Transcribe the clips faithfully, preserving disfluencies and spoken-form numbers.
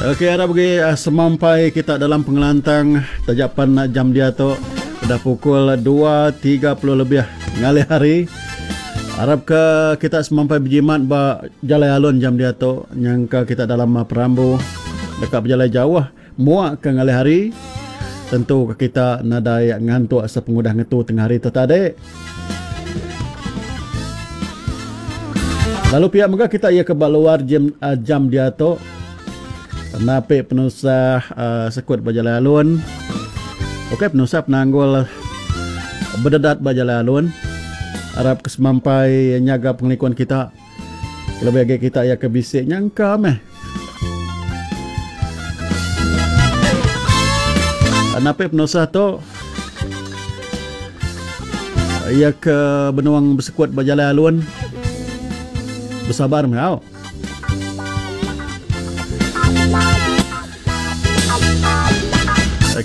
Okey, arap agi semampai kita dalam pengelantang taja pan jam diatu udah pukul dua tiga puluh lebih ngalih hari. Arap ke kita semampai bejimat ba jalai alun jam diatu nyangka kita dalam perambu deka bejalai jauh muak ke ngalih hari. Tentu ke kita nadai ngantuk sepengudah ngetu tengah hari tu tadi. Lalu pihak mega kita ia ke ba luar jam, jam diatu napi penusah uh, sekut ba jalai alun. Okey, penusah penanggul berdedat ba jalai alun. Arap ke semampai nyaga pengelikun kita. Lebih agi kita ia ke bisik nyangka meh. Napi penusah tu ia ke benuang bersekut ba jalai alun. Bersabar meh au.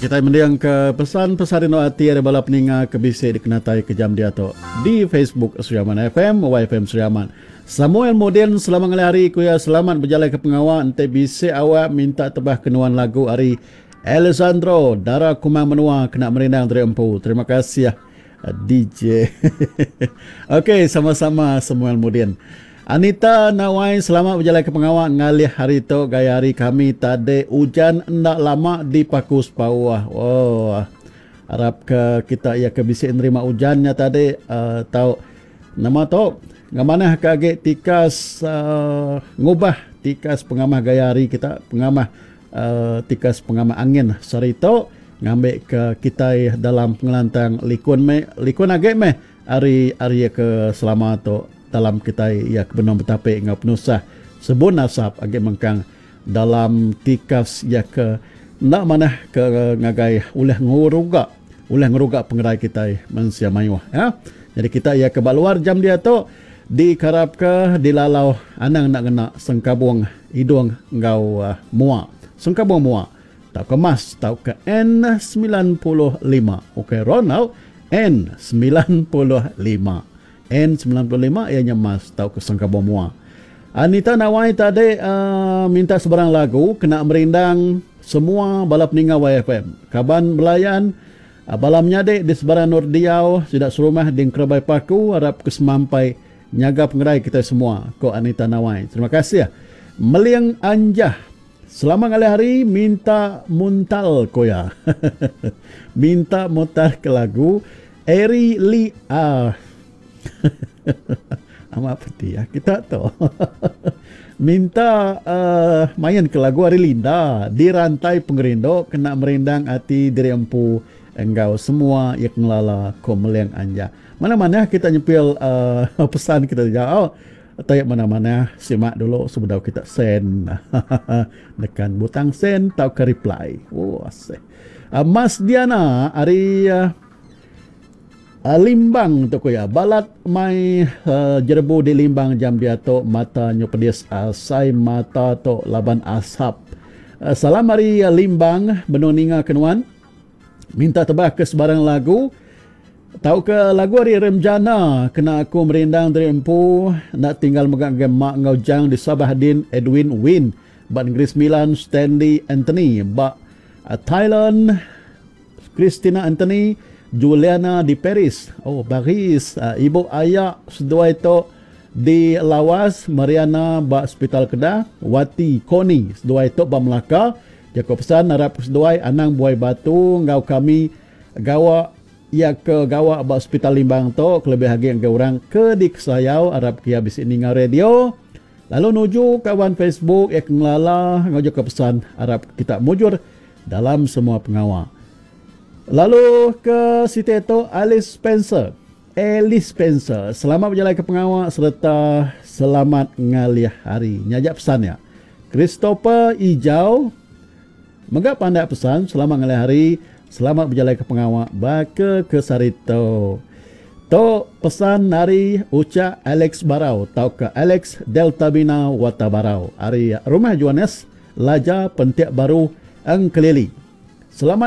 Kita mendiang ke pesan-pesan rindu ati ari bala peninga ke bisi dikenatai ke jam diatu di Facebook Sri Aman F M, Y F M Sri Aman. Samuel Mudin, selamat ngalih hari ku ya, selamat berjalai ke pengawa ente bisi awak minta tebah kenuan lagu ari Alessandro Dara Kumang Menua kena merindang dari empu. Terima kasih D J. Okey, sama-sama Samuel Mudin. Anita Nawai, selamat berjalai ke pengawa ngalih hari tu gaya hari kami tadi hujan endak lama di Paku Sepawah. Oh, harap ke kita ia ke bisi nerima hujannya tadi uh, tau nama tu ngamanah ke agi tikas uh, ngubah tikas pengamah gaya hari kita, pengamah uh, tikas pengamah angin sehari tu ngambil ke kita dalam pengelantang likun me likun agi meh hari hari ke selama tu dalam kita ia kebenar betapik ngau penusah sebun asap agi mengkang dalam tikas ia ke nak manah ke ngagai ulih nguruga ulih ngeruga pengerai kita mensia mayuh ya. Jadi kita ia ke luar jam dia tu dikarap ke dilalau anang nak kena sengkabung hidung ngau uh, muak sengkabung muak tau ke mas tau ke N sembilan puluh lima. Okey Ronald N sembilan puluh lima. N sembilan puluh lima ianya mas tau ke sengkabung muak. Anita Nawai tadi uh, minta sebarang lagu kena merindang semua bala peninga Y F M. Kaban belayan uh, bala menyadik di sebarang Nur Diau sidak serumah di Kerabai Paku harap kesemampai nyaga pengerai kita semua. Ko Anita Nawai. Terima kasih. Meling Anjah. Selamat ngalih hari minta muntal koya. Minta mutar ke lagu Eri Li A. Amat peti ya kita tu. Minta uh, main ke lagu Ari Linda di rantai pengerindu kena merindang ati diri empu enggau semua yang ngelala ko Meling Anja. Mana-mana kita nyepil uh, pesan kita jauh. Tayak mana-mana simak dulu sebelum kita send. Nekan butang send tau ke reply. Oh asih. Uh, Mas Diana ari uh, Uh, Limbang tu ko ya. Balat mai uh, jerebu di Limbang jam diatu mata nyu pedis asai mata tu laban asap. Uh, salam ari uh, Limbang benung ninga kenuan. Minta tebah ke sebarang lagu. Tau ke lagu ari Remjana kena aku merindang dari empu nak tinggal megang gemak ngau jang di Sabah Din Edwin Win ba Negeri Sembilan Stanley Anthony ba uh, Thailand Christina Anthony Juliana di Paris. Oh, Paris. Uh, Ibu ayak seduai tu di Lawas, Mariana ba Hospital Kedah, Wati Koni seduai tu ba Melaka. Jaku pesan harap seduai anang buai batu ngau kami gawa ia ke gawa ba Hospital Limbang tu kelebih agi ngau orang ke di Kesayau harap kia bisi ninga radio. Lalu nuju kawan Facebook ia ngelala ngau jaku pesan harap kita mujur dalam semua pengawal. Lalu ke Siti itu Alice Spencer. Alice Spencer, selamat berjalan ke pengawal serta selamat ngalih hari. Nyajak pesan ya. Christopher Ijau megak pandai pesan, selamat ngalih hari, selamat berjalan ke pengawal baka ke Sarito. Tok pesan hari Uca Alex Barau tau ke Alex Delta Bina Wata Barau. Hari Rumah Johannes Laja Pentiak Baru Engkelili. Selamat